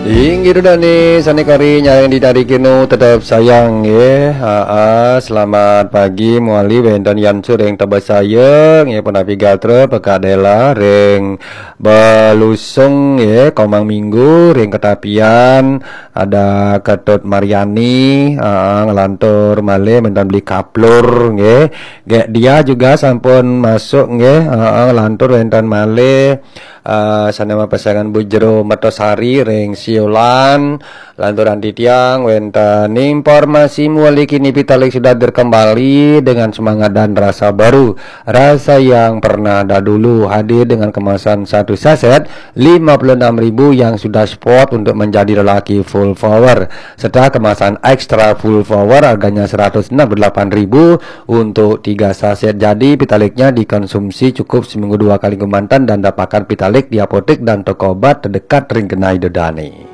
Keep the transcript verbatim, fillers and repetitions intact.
Inggih, Ida dané sané kari nyarengin Ida dané, tetep sayang nggih. Aa, selamat pagi mawali wénten Yan Sureng Tebesaya nggih, punapi gatra Pekak Dela ring Belusung nggih, Komang Minggu ring Ketapian, ada Ketut Mariani, aa, nglantur malih wénten Beli Kaplur nggih. Gek dia juga sampun masuk nggih, aa, nglantur wénten malih. Eh, sané mapesengan Bu Jero Mertosari ring Siolan, lanturan titiang wénten informasi mawali kini, Pitalik sudah hadir kembali dengan semangat dan rasa baru. Rasa yang pernah dahulu hadir dengan kemasan satu saset lima puluh enam ribu yang sudah spot untuk menjadi lelaki full power. Setelah kemasan extra full power harganya seratus enam puluh delapan ribu untuk tiga saset. Jadi, Pitaliknya dikonsumsi cukup seminggu dua kali kemanten dan dapatkan Pitalik di apotek dan toko obat terdekat ring genah Ida dané.